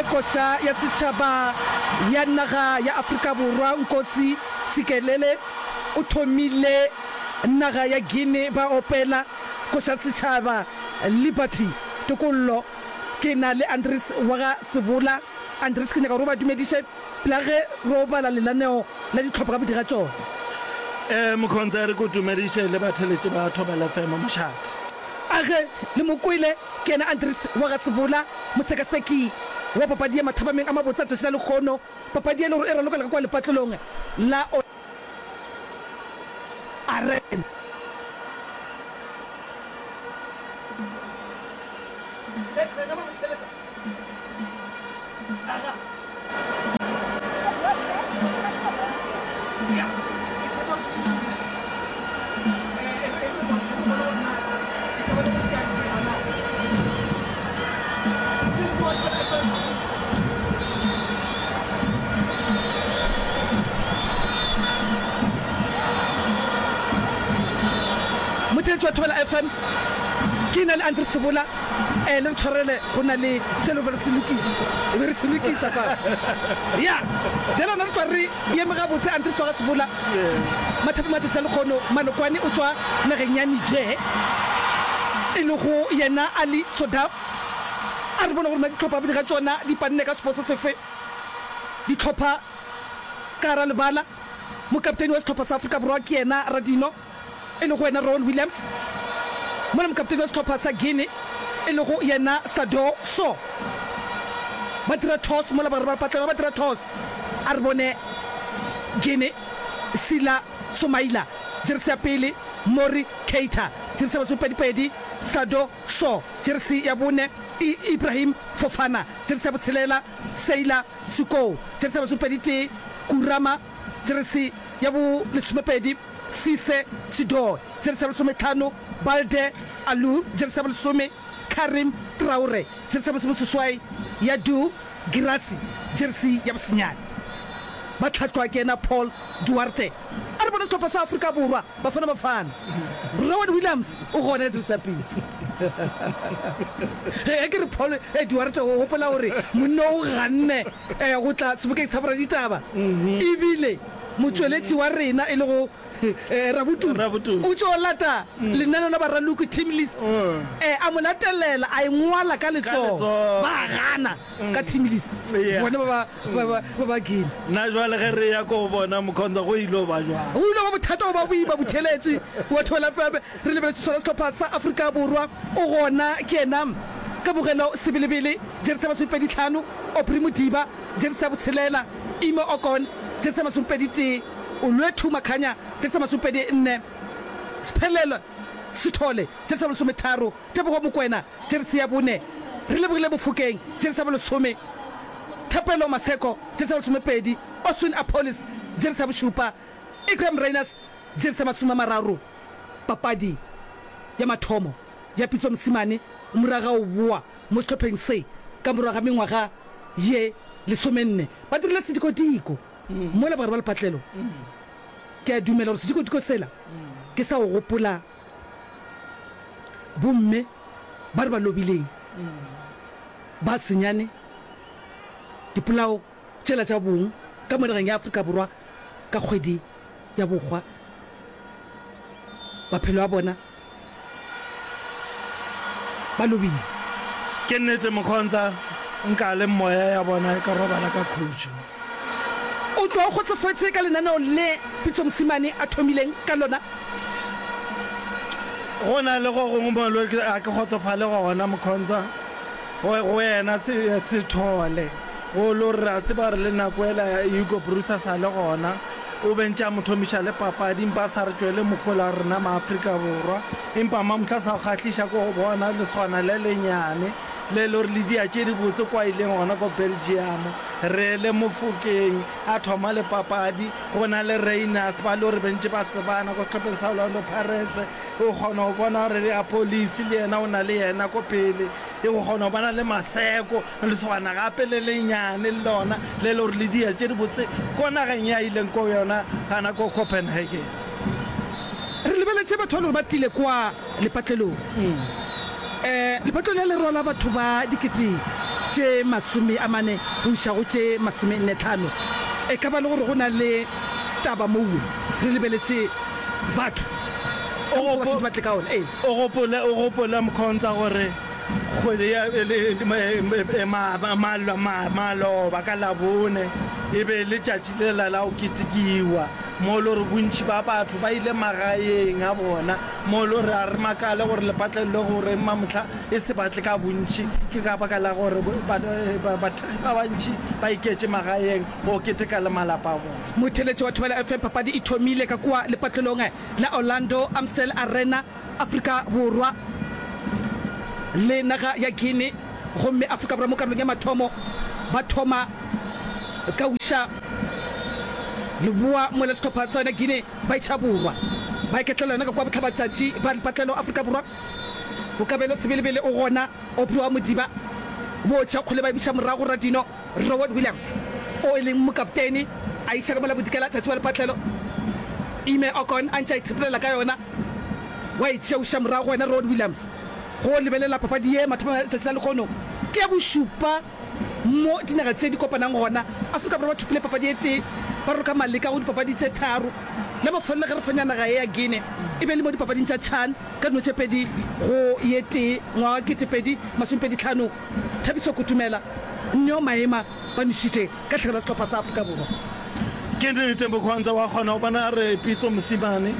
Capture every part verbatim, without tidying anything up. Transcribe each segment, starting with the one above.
opile koša ya setšhaba ya naga ya Afrika Borwa Nkosi Sikelele o thomile naga ya Guinea ba opela koša setšhaba Liberty tokollo ke na le Andries wa ga Sebola Andries ke nyaka gore o ba dumediše pela ge ro bala lenaneo la ditlhopha ka bodi ga tšona. Eh Mokhontse re ko dumediše le batheletši ba Thobela F M mošate. A ge le mo kwele ke yena Andries wa ga Sebola mosekaseki wa papadi ya mathapameng a mabotse a tšatši la lekgono papadi e le gore e ralokela ka kwa lepatlelong la Arena. Motheetši wa Thobela F M, ke na le Andre Sebola, eh, le re tshwarele go na le se le be re se lokiša, e be re se lokiša fa. Ya, bjale gona re tloga re eme gabotse Andre Swaga Sebola, Mathapo Matšatši a lekgono, Malokwane o tšwa nageng ya Niger, e lego yena Ali Sodap. A re bone gore na dihlopha bobedi ga tšona di panne ka sepo se sefe. Dihlopha ka gara lebala, mokapteni wa sehlopha sa Afrika Borwa ke yena Radino, e lego yena Ronwen Williams, mola mokapteni wa sehlopha sa Guinea e lego yena Sadou Sow. Ba dira toss mola bagare ba patlelo ba dira toss. A re bone Guinea, Sila Somaila, jeresi ya pele, Mori Keita, jeresi ya masomepedi-pedi, Sadou Sow, jeresi ya bone, I Ibrahim Fofana, jeresi ya botshelela, Seila Sukou, jeresi ya masomepedi-tee, Kurama, jeresi ya bo lesomepedi, Cisse Sidor, jeresi ya lesometlhano, Balde Alou, jeresi ya bolesome, Karim Traore, jeresi ya bolesomeseswai, Yadou Guirassy, jeresi ya bosenyane. Ba hlahlwa ke yena Paul Duarte. A re bone sehlopha sa Afrika Borwa, Bafana Bafana. Rowan Williams o gona ka jeresi ya pele. Ge ke re Paul Duarte, o gopola gore monna o ganne go tla sebokeng sa boraditaba. Ebile motšweletši wa rena e lego Rabotulo o tšo lata lenaneo la baraloki, team list, a mo latelela a e ngwala ka letsogo, ba gana ka team list bona ba ba ba ba Guinea. Na jwale ge re ya ko go bona Mkhonza go ile ba jwang? Go ile ba bothata go ba boima botheletše wa Thobela F M re lebeletše sona sehlopha sa Afrika Borwa o gona ke yena Kabogelo Sebelebele jeresi ya masomepedi tlhano, Aubrey Modiba jeresi ya botshelela, Ime Okon jeresi ya masomepedi tee, Olwethu Makhanya jeresi ya masomepedi nne, Sphelelo Sithole jeresi ya bolesometharo, Tebogo Mokoena jeresi ya bone, Relebogile Mofokeng jeresi ya bolesome, Thapelo Maseko jeresi ya bolesomepedi, Oswin Appollis jeresi ya bošupa, Iqraam Rayners jeresi ya masome a mararo. Papadi ya mathomo ya Pitso Mosimane morago ga go boa mo sehlopheng se ka morago ga mengwaga ye lesomenne ba dirile sedikodiko mola bogare ba lepatlelo. Ke a dumela gore sedikodiko sela ke sa go gopola bomme ba re ba lobileng ba senyane dipolao tšela tša bong ka mo nageng ya Afrika Borwa ka kgwedi ya bohwa. Maphelo a bona ba lobile. Ke nnete Mokhontha, nka le moya ya bona e ka robala ka khutšo. O tloga o kgotsofetše ka lenaneo le Pitso Mosimane a thomileng ka lona? Go na le go gongwe mo le ga ke kgotsofale gona Mokhontha, go go yena Sethole, go lo re a tseba gore le nako ela Hugo Broos a sa le gona, O be ntše a mo thomiša le papadi, empa a sa re tšwele mohola rena maAfrika Borwa. Empa mamohla sa go kgahliša ke go bona lesogana le lenyane le le gore le dia tše dibotse kwa ileng gona ko Belgium. Re le Mofokeng a thoma le papadi, go na le Rayners ba le gore be ntše ba tsebana ko sehlopheng sa Orlando Pirates. O kgona go bona gore le Appollis le yena o na le yena ko pele. O kgona go bona le Maseko. Lesogana gape le lenyane le lona le le gore le dia tše dibotse ko nageng ye a ileng ko yona gana ko Copenhagen. Re lebeletše batho ba le gore ba tlile kwa lepatlelong. Um lepatlelo le le rwala batho ba dikete tše masome a mane go iša go tše masome nne tlhano. E ka ba le gore go na le taba mowe re lebeletše batho ka mokgwa ba šetše ba tle ka ona. Ee. O gopole, o gopole Mkhonza gore kgwedi ya maloba ka Labone e be e le tšatši lela la go ketekiwa mo e le gore bontši ba batho ba ile magaeng a bona, mo e le gore a re makale gore lepatlelo le gore mamohla e se batle ka bontši ke ka baka la gore bathekgi ba bantši ba iketše magaeng go keteka le malapa a bona. Motheeletši wa Thobela F M, Papadi e thomile ka kua lepatlelong la Orlando Amstel Arena, Afrika Borwa le naga ya Guinea, gomme Afrika Borwa mo karolong ya mathomo ba thoma ka uša leboa mola sehlopha sa yona Guinea ba iša borwa. Ba iketlela yona ka kua bohlabatšatši ba lepatlelo Afrika Borwa. Bokabelo Sebelebele o gona, Aubrey wa Modiba bo tšea kgole ba e buša morago Radino Rowan Williams o e leng mokaptene a iša ka mola bodikela tšatši wa lepatlelo Ime Okon a ntše a itshepelela ka yona wa e tšea uša morago go yena Rowan Williams. Go lebelela papadi ye mathomong a letšatši la lehono ke ya bošupa mo dinaga tše di kopanang gona. Afrika Borwa ba thopile papadi e tee, ba roka maleka go dipapadi tše tharo. La mafelelo ge re fenya naga ye ya Guinea e be e le mo dipapading tša CHAN ka dino tše pedi go ye tee ngwaga wa kete pedi masomepedi tlhano. Thabiso Kutumela, Neo Maema ba nwešitše ka tlhagelo ya sehlopha sa Afrika Borwa. Ke nnete Mkhonza wa kgona go bona re Pitso Mosimane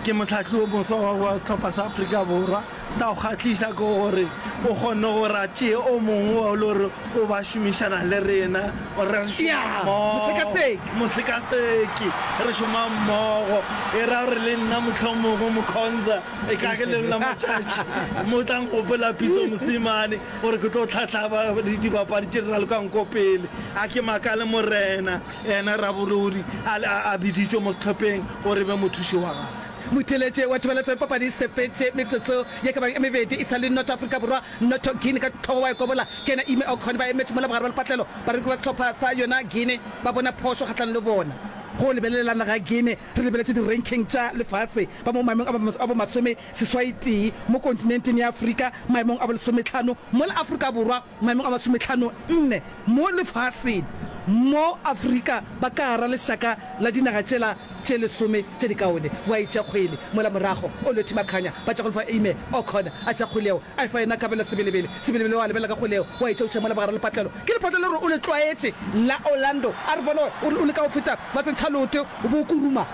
ke mohlahli o moswa wa wa sehlopha sa Afrika Borwa. Sa go kgahliša ke gore o kgonne gore a tšee o mongwe wa e le gore o ba šomišana le rena, re šoma Ya, mmogo, mosekaseki. mosekaseki, re šoma mmogo. E ra gore le nna mohlomongwe Mkhonza e ka ke lengwe la matšatši mo tla nkgopola Pitso Mosimane gore ke tlo hlahlaba dibapadi tše di ralokang ko pele. A ke makale Morena yena Rabolodi a, a, a biditšwe mo sehlopheng gore e be mothuši wa gagwe. Motheeletše wa Thobela F M papadi e sepetše metsotso ye ka bang e mebedi e sa le noto Afrika Borwa noto Guinea ka hlogo wa e kobola ke yena Ime Okon ba emetše mola bogare ba lepatlelo bareki ba sehlopha sa yona Guinea ba bona phošo kgahlanong le bona. Go lebelela naga ya Guinea re lebeletše di-ranking tša lefase ba mo maemong a bo masome seswai tee mo kontinenteng ya Afrika maemong a bo lesometlhano mola Afrika Borwa maemong a masometlhano nne mo lefaseng mo Afrika ba ka gara lešaka la dinaga tšela tše lesome tše dikaone. Wa e tšea kgwele mola morago Olwethu Makhanya ba tša go lefa Aime Okon a tšea kgwele yeo a e fa yena Kabelo Sebelebele. Sebelebele wa lebelela ka kgwele yeo wa e tšea o tšea mola bogare lepatlelo. Ke lepatlelo le gore o le tlwaetše la Orlando a re bone o re o leka go feta ba tsentšha leoto o bo o kuruma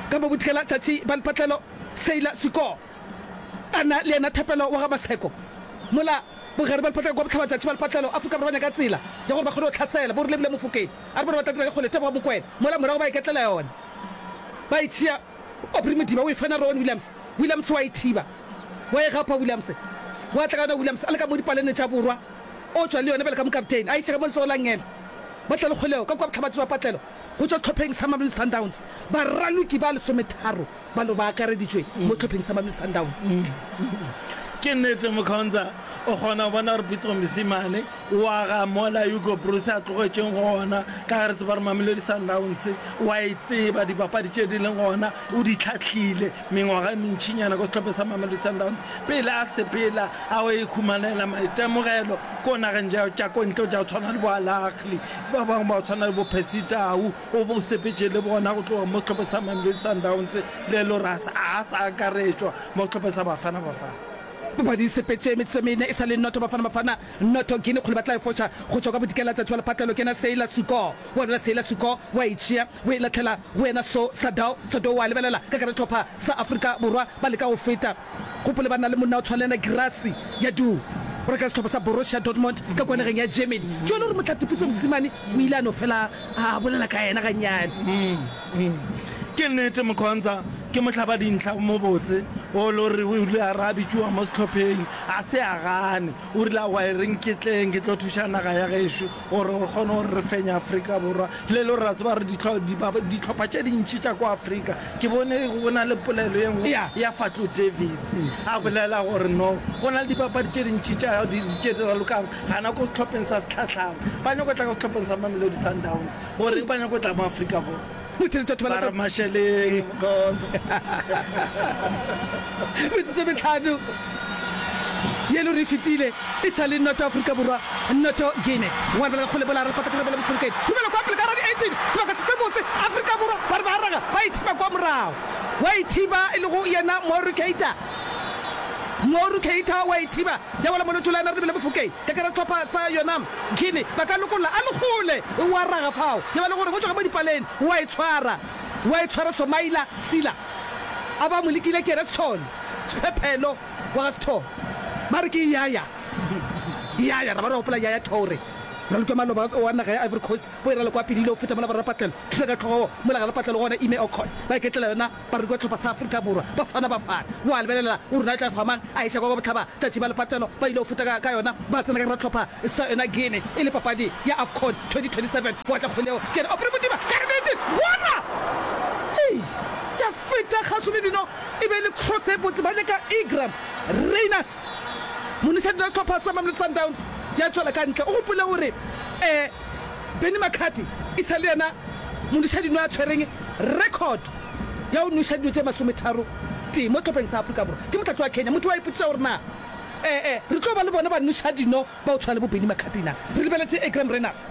ka mo bodikela tšatši ba lepatlelo Seila Siko a na le yena Thapelo wa ga Maseko mola bogare ba lepatlelo kwa bohlabatšatši ba lepatlelo Afrika Borwa ba nyaka tsela ya gore ba kgone go hlasela bo re lebile Mofokeng a re bone ba tla dira dikgole tša boga Mokwena mola morago ba iketlela yona ba e tšea Aubrey Modiba o e fana Rowan Williams Williams wa e thiba wa e gapa Williams wa tla ka yona Williams a le ka mo dipalene tša borwa o tšwa le yona bjale ka mokaptene a iša ka mo letsogo la nngele ba tla le kgolego ka kua bohlabatši ba patlelo go tšwa sehlopheng sa Mamelodi Sundowns baraloki ba lesometharo ba no ba akareditšwe mo sehlopheng sa Mamelodi Sundowns. Ke nnete Mkhonza o kgona go bona gore Pitso Mosimane o aga mola Hugo Broos a tlogetšeng gona, ka ge re tseba gore Mamelodi Sundowns o a e tseba, dibapadi tše di leng gona o di hlahlile mengwaga e mentšinyana ko sehlopheng sa Mamelodi Sundowns pele a sepela a o ikhumanela maitemogelo ko nageng tša ko ntle tša go tshwana le bo Al Ahly, ba bangwe ba go tshwana le bo Percy Tau o bo sepetše le bona go tloga mo sehlopheng sa Mamelodi Sundowns le le gore a sa akaretšwa mo sehlopheng sa Bafana Bafana. Papadi e sepetše metsotso e mene e sa le noto Bafana Bafana noto Guinea kgole ba tla e foša go tšwa ka bodikela tšatši wa lepatlelo ke yena Seila Suko wa dula Seila Suko wa e tšea o e lahlela go yena So Sadao Sadou wa lebelela ka gare hlopha sa Afrika Borwa ba leka go feta gopole ba na le monna o tshwana le yena Girassi ya du o reka sehlopha sa Borussia Dortmund ka kwa nageng ya Germany tšone gore Motlhatuputso Mosimane o ile a no fela a bolela ka yena gannyane. Ke nnete Mkhonza ke mohlabadintlha o mobotse o le gore o ile a re a bitšoa mo sehlopheng a se a gane. O rile aowa e reng ke tleng ke tlo thuša naga ya gešo gore re kgone gore re fenye Afrika Borwa. Le le gore ra tseba gore dihlopha tše dintši tša kwa Afrika ke bone go na le polelo ye nngwe ya Fadlu Davids a bolela gore no go na le dipapadi tše dintši tše di ralokang gana ko sehlopheng sa Setlhatlhama ba nyako tla ka sehlopheng sa Mamelodi Sundowns goreng ba nyako tla mo Afrika Borwa. Ba re mašeleng Mkhonza. Metsotso e metlhano Ye le gore e fetile e sa le noto Afrika Borwa noto Guinea. Wa lebelela kgole bola re pata ke lebele Mofokeng. Dumela kwa pele ka radi eighteen sebaka se se botse Afrika Borwa ba re ba raga ba ithiba kwa morago. Wa ithiba e lego yena Moru Keita. Moru Keita wa ithiba ya wela mo leotong la yena re lebele Mofokeng. Ka kera sehlopha sa yona Guinea ba ka lokolla a le kgole wa raga fao ya ba le gore go tšwa ka mo dipaleng wa e tshwara wa e tshwara Somaila Sila a ba mo lekile ke yena Sithole Sephephelo wa ga Sithole ba re ke Yaya Yaya ra ba re gopola Yaya Toure raloki wa maloba wa naga ya Ivory Coast bo e raloka wa pele ile go feta mola borrapatlelo thula ka hlogo mola ga lepatlelo gona Ime Okon ba iketlela yona baraloki ba hlopha sa Afrika Borwa Bafana Bafana wa lebelela o rena e tla fa mang a iša kwa kwa bohlaba tšatši ba lepatlelo ba ile go feta ka ka yona ba tsena ka gara hlopha sa yona Guinea e le papadi ya AFCON twenty twenty seven wa tla kgwele yeo ke yena Aubrey Modiba ka nnete bona hei ya feta kgauswi le dino e be e le cross e botse ba nyaka Igram Rayners monišadino wa sehlopha sa Mamelodi Sundowns ya tšwela ka ntle o gopole gore um Benni McCarthy e sa le yena monišadino a tshwereng record ya go nweša dino tše masometharo tee mo hlopheng sa Afrika Borwa ke mohlahli wa Kenya motho wa ipotšiša gore na ee re tlo ba le bona banweša dino ba go tshwana le bo Benni McCarthy na re lebeletše Igram Rayners.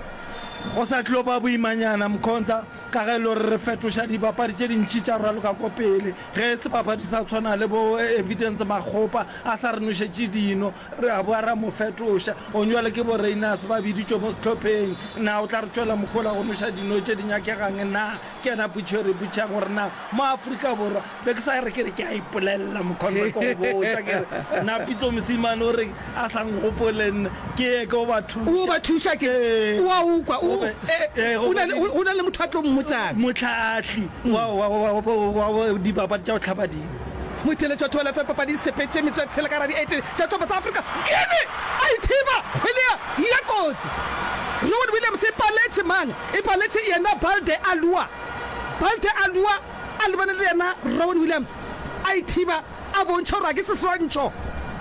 Go sa tlo ba boimanyana Mkhonza ka ge e le gore re fetoša dibapadi tše dintši tša raloka ko pele. Ge sebapadi sa tshwana le bo Evidence Makgopa a sa re nošetše dino, re a boa ra mo fetoša. Gong bjale ke bo Rayners ba biditšwe mo sehlopheng. Na o tla re tšwela mohola go noša dino tše di nyakegang na? Ke yena potšišo e re ipotšišang gore na mo Afrika Borwa be ke sa re ke re ke a ipolelela Mkhonza ke go botša ke re na Pitso Mosimane o reng a sa nkgopole nna ke ye ke go ba thuša. O ba thuša ke Ee. o a o kwa o Go be- eh, ee, go o na be le o na le motho a tlo mmotšang. Mohlahli wa wa wa wa wa dipapadi tša go hlaba dino. Motheeletši wa Thobela F M papadi e sepetše metsotso ya tshela ka gare ga di-eighteen tša sehlopha sa Afrika Guinea a ithiba kgwele ya ya kotsi. Rowan Williams e paletše mang? E paletše yena Balde Alua. Balde Alua a lebane le yena Rowan Williams a ithiba a bontšha gore a ke seswantšho,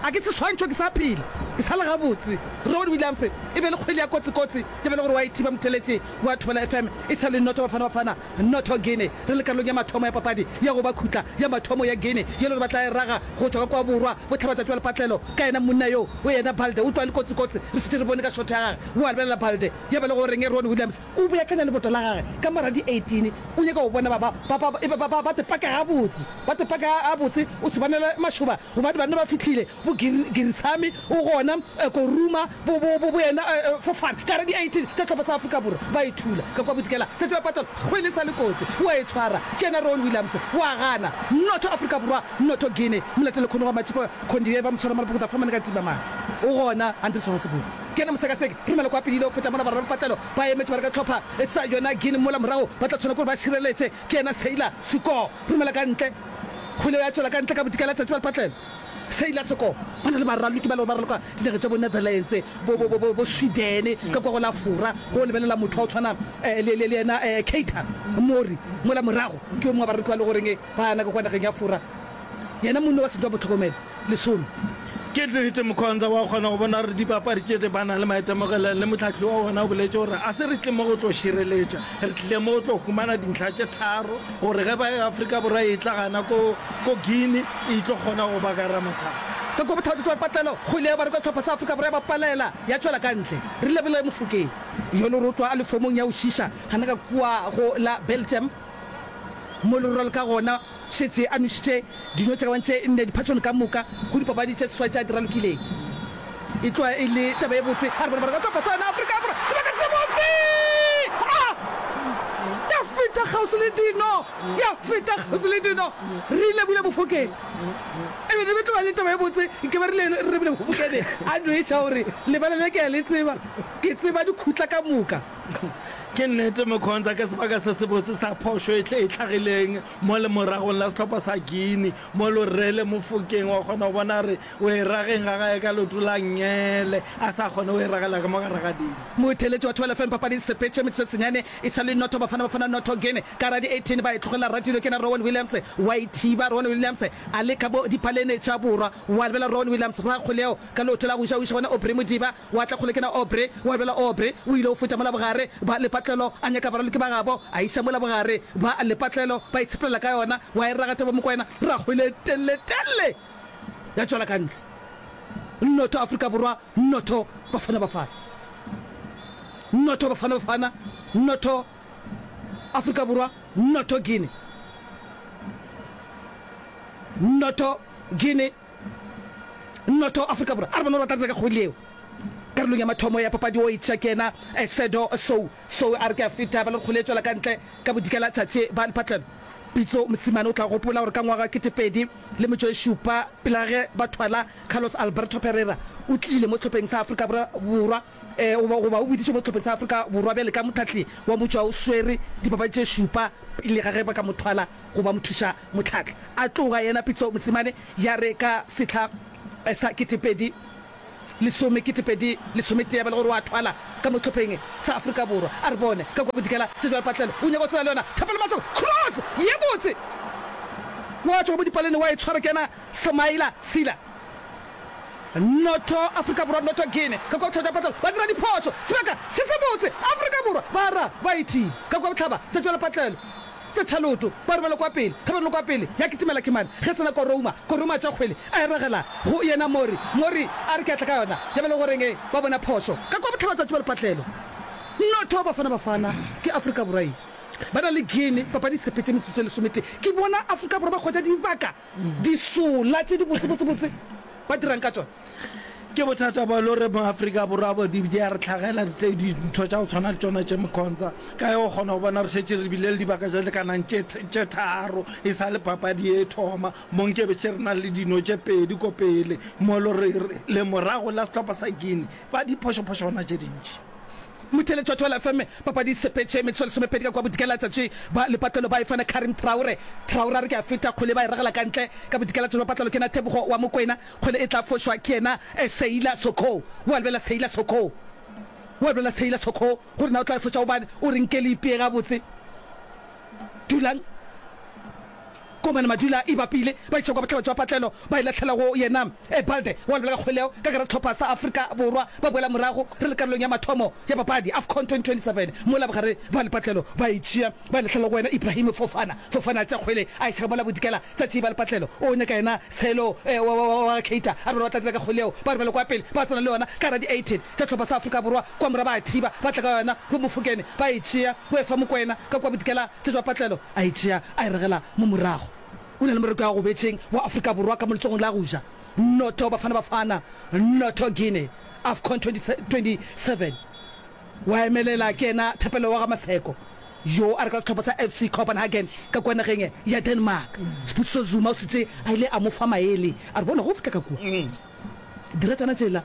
a ke seswantšho ke sa phela, ke sa le gabotse. Rowan Williams e be le kgwele ya kotsi-kotsi ya ba le gore wa ithiba motheeletši wa Thobela F M e sa le noto Bafana Bafana noto Guinea. Re le karolong ya mathomo ya papadi ya go ba khutla ya mathomo ya Guinea ye le gore ba tla e raga go tšwa ka kwa borwa bohlabatšatši bja lepatlelo ka yena monna yo o yena Balde o tloga le kotsi-kotsi re šetše re bone ka shotho ya gage wa lebelela Balde ya ba le gore reng Ron Williams o beakanya leboto la gage ka mara di eighteen o nyaka go bona ba ba ba ba ba ba ba tepaka gabotse ba tepaka gabotse o se banele mašoba gobane banna ba fihlile bo Girisami o gona Koruma bo bo bo bo yena Fofana ka gare di eighteen tša hlopha sa Afrika Borwa ba e thula ka kwa bodikela tšatši ba patela kgwele sa le kotsi o a e tshwara ke yena Ron Williams wa gana noto Afrika Borwa noto Guinea molatele kgone wa Matšhipa Khondiye ba mo tshwara marapo go tla fumana ka tima mang o gona Andries wa Sebulu ke yena mosekaseki romela kwa pele ile go feta mola barwa ba patelo ba emetše ba re ka hlopha sa yona Guinea mola morago ba tla tshwana ke gore ba šireletše ke yena Sailor Siko romela ka ntle kgwele ya tšwela ka ntle ka bodikela tšatši ba lepatlelo Sailor Siko ba na le baraloki ba le gore ba raloka dinageng tša bo Netherlands bo bo bo bo Sweden ka kwa go la Fora go lebelela motho wa go tshwana le le yena Keita Mori mola morago ke yo mongwe wa baraloki ba le goreng ba na ka kwa nageng ya Fora yena monna wa setšo wa motlhokomelo lesome. Ke nnete Mkhonza wa kgona go bona gore dipapadi tše di ba na le maitemogelo le mohlahli wa bona o boletše gore a se re tle mo go tlo šireletša, re tlile mo go tlo humana dintlha tše tharo gore ge ba Afrika Borwa e tla gana ko ko Guinea e tlo kgona go ba ka ra mathata. Ka kua bothata jwa patlelo, kgwele ya bareka sehlopha sa Afrika Borwa ya bapalela ya tšwela ka ntle. Re lebile Mofokeng yo le rotwa a le fomong ya go šiša gana ka kua go la Belgium mo le rwalo ka gona. Šetše a nwešitše dino tše ka bang tše nne diphatšong ka moka go dipapadi tše seswai tše a di ralokileng. E tloga e le taba ye botse. A re bone gore ka tlhopha sa yona Afrika Borwa sebaka se botse! A! Ya feta kgauswi le dino! Ya feta kgauswi le dino! Re lebile Mofokeng. E be e tloga e le taba ye botse nke be re le re lebile Mofokeng a nweša gore lebala le ke a le tseba. Ke tseba dikhutla ka moka. Ke nnete Mokhonza ke sebaka se sebotse sa phošo e hlagileng mo lemoragong la sehlopha sa Guinea, mo Lorele Mofokeng wa kgona go bona gore o e rageng ga gae ka leoto la nngele, a sa kgone go e ragela ka mo gare ga dino. Motheeletši wa Thobela F M papadi e sepetše metsotso senyane e sa le noto Bafana Bafana noto Guinea ka gare ga di eighteen ba e tlogela Ratilo ke yena Rowan Williams wa e thiba Rowan Williams a le ka bo dipalene tša borwa wa lebela Rowan Williams ra kgoleo ka leoto la go ja o iša gona Aubrey Modiba Wa tla kgole ke na Aubrey, wa bjala Aubrey o ile o feta mola bogare ba lepatlelo a nyaka baraloki ba gabo, a iša mola bogare ba lepatlelo ba itshepelela ka yona, wa e raga Thabo Mokoena, ra kgwele telele telele ya tšwela ka ntle. Noto Afrika Borwa, noto Bafana Bafana. Noto Bafana Bafana, noto Afrika Borwa, noto Guinea. Noto Guinea, noto Afrika Borwa. A re bone gore ba tla dira ka kgwele yeo. Karolong ya mathomo ya papadi o etša ke yena Sedo Sou. Sou a re ke a feta ba le kgwele e tšwela ka ntle ka bodikela tšatši ba Lepatlelo. Pitso Mosimane o tla gopola gore ka ngwaga wa ketepedi le metšo e šupa pele ga ge ba thwala Carlos Alberto Parreira o tlile mo sehlopheng sa Afrika Borwa goba goba o biditšwe mo sehlopheng sa Afrika Borwa bjale ka mohlahli wa motšwa o swere dipapadi tše šupa pele ga ge ba ka mo thwala go ba mothuša mohlahli. A tloga yena Pitso Mosimane ya re ka sehla sa ketepedi lesome ketepedi lesometee ba le gore o a thwala ka mo sehlopheng sa Afrika Borwa. A re bone ka kua bodikela tše jwale Patlelo o nyaka go tsena le yona Thapelo Maseko cross ye botse wa tšwa mo dipalene wa e tshwara ke yena Semaila Sila noto Afrika Borwa noto Guinea ka kua bohlaba tša Patlelo ba dira diphošo sebaka se se botse Afrika Borwa ba ra ba e thiba ka kua bohlaba tša tšwela Patlelo Tse tšhaloto, ba romela kwa pele. Ge ba romela kwa pele, ya kitimela Kimane. Ge tsena Korouma, Korouma a tšea kgwele, a e ragela go yena Mori. Mori a re ke a tla ka yona. Ya ba le go reng ba bona phošo. Ka kwa bohlabatšatši ba lepatlelo. Noto Bafana Bafana ke Afrika Borwa ye. Ba na le Guinea, papadi e sepetše metsotso e lesometee. Ke bona Afrika Borwa ba hwetša dibaka, disola tše di botsebotsebotse. Ba dirang ka tšona? Ke bothata bo e le gore mo Afrika Borwa bo di di a re hlagela tše dintho tša go tshwana le tšona tše Mkhonza. Ka ge o kgona go bona re šetše re bile le dibaka tše lekanang tše tše tharo e sa le papadi e thoma mo nke be še re na le dino tše pedi ko pele mo e le gore le morago la sehlopha sa Guinea ba diphošophošwana tše dintši. Motheeletši wa Thobela F M, papadi e sepetše metsotso e lesomepedi ka kua bodikela tšatši ba lepatlelo ba e fana Karim Traore. Traore a re ke a feta kgwele ba e ragela ka ntle ka bodikela tšatši ba patlelo ke yena Tebogo wa Mokwena. Kgwele e tla fošwa ke yena Seila Sokho. Wa lebela Seila Sokho. Wa lebela Seila Sokho gore na o tla e foša gobane o re nke le ipee gabotse. Dulang. Komane Madula e bapile, ba iša kwa bohlaba jwa patlelo, ba e lahlela go yena Balde, wa lebela ka kgwele ka gare sehlopha sa Afrika Borwa ba boela morago re le karolong ya mathomo ya papadi AFCON twenty twenty-seven mola bogare ba lepatlelo ba e tšea ba e lahlela go yena Ibrahim Fofana. Fofana a tšea kgwele a iša mola bodikela tša ba lepatlelo o nyaka yena Tshelo wa Keita a re bona ba tla tsena ka kgwele yeo ba romela kwa pele ba tsena le yona ka gara di eighteen tša sehlopha sa Afrika Borwa kwa morago ba a thiba ba tla ka yona bo Mofokeng ba e tšea o e fa Mokwena ka kua bodikela tša ba patlelo a e tšea a e regela mo morago. O na le moreko ya gobetšeng wa Afrika Borwa ka mo letsogong la go ja. Noto Bafana Bafana, noto Guinea, AFCON twenty twenty-seven Wa emelela ke yena Thapelo wa ga Maseko yo a rekago sehlopha sa F C Copenhagen ka kua nageng ya Denmark. Sibusiso Zuma o šetše a ile a mo fa maele a re, Bona, ge o fihla ka kua, dira tšana tšela.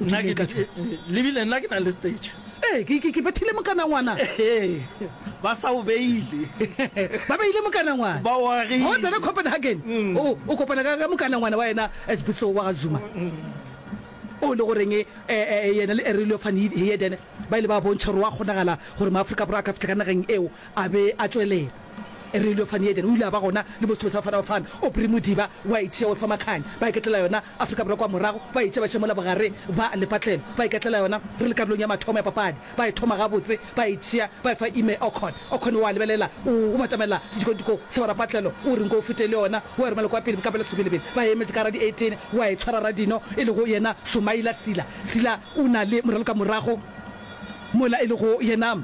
O Nna ke, ke, le bile nna ke na le stage. Ee, ke, ke, ke bethile mokanangwana. Ee, ba sa o beile. Ba beile mokanangwana. Ba o agile. Ga o tsena Copenhagen, mm. o, o kopana ka, ka mokanangwana wa yena Sibusiso wa ga Zuma. Mm. O le goreng eh, eh, yena le Aurelio van Heerden ba ile ba bontšha gore wa kgonagala gore Maafrika Borwa a ka fihla ka nageng eo a be a tšwelela. Aurelio van Heerden o ile a ba gona le mo sehlopha sa Bafana Bafana. Aubrey Modiba wa e tšea o e fa Makhanya. Ba iketlela yona Afrika Borwa kwa morago, ba e tšea ba iša mola bogare ba lepatlelo. Ba iketlela yona re le karolong ya mathomo ya papadi. Ba e thoma gabotse, ba e tšea ba e fa Ime Okon. Okon o a lebelela, o batamela sedikotiko sa barapatlelo, o re nko o fete le yona, o a romela kwa pele ka pela sebelebele. Ba e emetše ka gara di eighteen, wa e tshwara Radino e lego yena Somaila Sila. Sila o na le moraloka morago mola e lego yena.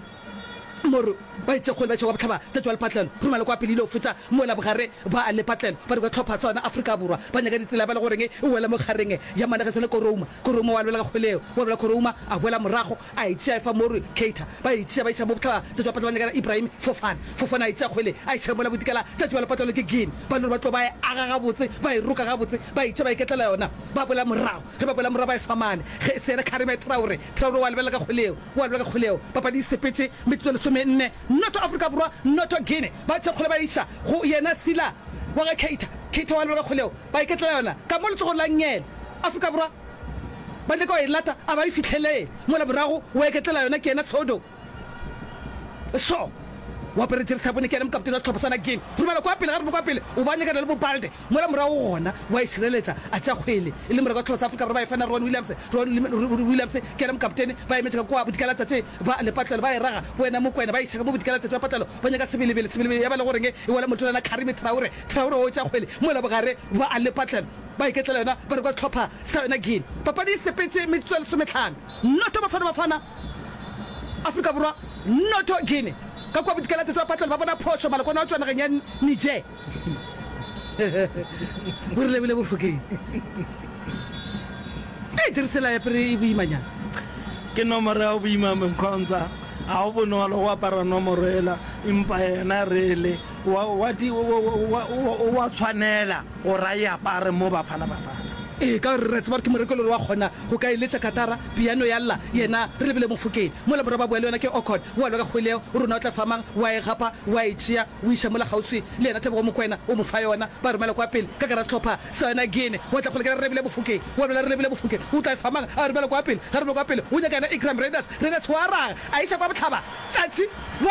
Moro, ba itše kgole ba iša kwa bohlaba tšatši wa lepatlelo, romela kwa pele ile go feta mola bogare ba lepatlelo, ba re kwa hlopha sa yona Afrika Borwa, ba nyaka ditsela ba le goreng e wela mo kgareng ya managesele Korouma, Korouma wa lebela ka kgwele yeo, wa lebela Korouma a boela morago a e tšea e fa Moro Keita, ba e tšea ba iša mo bohlaba tšatši wa patlelo ba nyakana Ibrahim Fofana, Fofana a e tšea kgwele a iša mola bodikela tšatši wa lepatlelo ke Guinea, ba no re ba tlo ba e aga gabotse ba e roka gabotse ba e tšea ba iketlela yona ba boela morago, ge ba boela morago ba e fa mane ge se yena Karime Traore, Traore wa lebela ka kgwele yeo. Wa lwa ka kgoleo. Papadi e sepetše metsotso e lesomenne. Noto Afrika Borwa, noto Guinea. Ba tšea kgole ba e iša go yena Sila wa ga Keita. Keita wa lwa ka kgoleo. Ba iketlela yona ka mo letsogong la nngele. Afrika Borwa ba nyaka go e lata, a ba e fihlelele. Mola morago wa iketlela yona ke yena Sodo. So O apere jeresi ya bone, ke yena mokaptene wa sehlopha sa Guinea. Romela kwa pele, ga roma kwa pele, o ba nyakana le bo Balde mola morago gona, wa e šireletša, a tšea kgwele e le moreko wa sehlopha sa Afrika Borwa ba e fana Ron Williams, Ron Williams ke yena mokaptene, ba emetše ka kua bodikela-tšatši ba lepatlelo ba e raga, bo yena Mokwena ba iša ka mo bodikela-tšatši ba patlelo ba nyaka Sebelebele, Sebelebele ya ba le goreng e wela motolana Karimi Traore, Traore o tšea kgwele mola bogare ba lepatlelo ba iketlela yona ba re kwa sehlopha sa yona Guinea. Papadi e sepetše metsotso e lesomehlano, noto Bafana Bafana. Afrika Borwa noto Guinea ka kua bodikela-tšatši ba patlelo ba bona phošo malokwane a tšwa nageng ya Niger. Bo re lebile Bofokeng. Ee, Jerusalema ya pere e boimanyana. Ke nomoro ya go boima Mkhonza. Ga go bonolo go apara nomoro yela, empa yena really wa, wa, wa, wa, wa tshwanela gore a e apare mo Bafana Bafana. Ee, ka gore re a tseba gore ke moreki le gore wa kgona go ka e letša katara, piano ya lla, yena re lebile Mofokeng. Mola morwa ba bua le yona ke Okon, wa lwa ka kgwele yeo, o rona o tla fa mang, wa e gapa, wa e tšea, o iša mola kgauswi le yena Tebogo Mokoena, o mo fa yona, ba romela kwa pele, ka gare ga sehlopha sa yona Guinea, wa tla kgwele ke re lebile Mofokeng, wa lwela re lebile Mofokeng, o tla e fa mang, a romela kwa pele, ga romela kwa pele, o nyaka yena Ikram Raiders, Raiders wa raga, a iša kwa bohlaba, tšatši, wa.